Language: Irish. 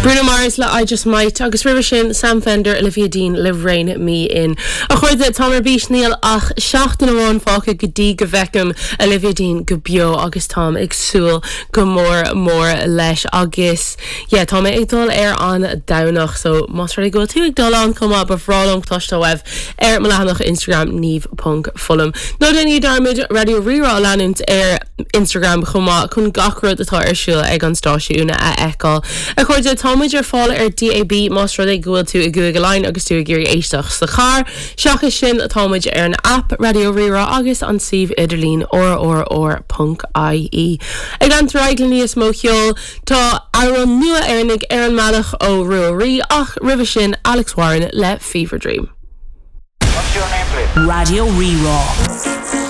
Bruno Mars le I Just Might agus roimhe sin Sam Fender, Olivia Dean le Rein Me In. A chairde, táim ar bís níl ach seachtain amháin fágtha go dtí go bhfeicim Olivia Dean go beo agus táim ag súil go mór mór leis agus yeah tá mé ag dul ar an Domhnach so más rud é go bhfuil tú ag dul ann chomh maith ba bhreá liom cloisteáil uaibh ar mo leathanach Instagram Niamh ponc Fullam. Ná déanaigí dearmad Raidió Rí-Rá a leanúint ar Instagram chomh maith chun gach rud atá ar siúl ag an stáisiún a fheiceáil. A chairde, tá muid ar fáil ar DAB más rud é go bhfuil tú i gCúige Laighean agus tú ag iarraidh éisteacht sa charr. Seachas sin, tá muid ar an aip Raidió Rí-Rá agus an suíomh idirlín rrr.ie. Ag leanúint ar aghaidh le níos mó ceoil, tá amhrán nua Éireannaigh ar an mbealach ó Ruaidhrí ach roimhe sin Alex Warren le Fever Dream. What's your name please? Raidió Rí-Rá.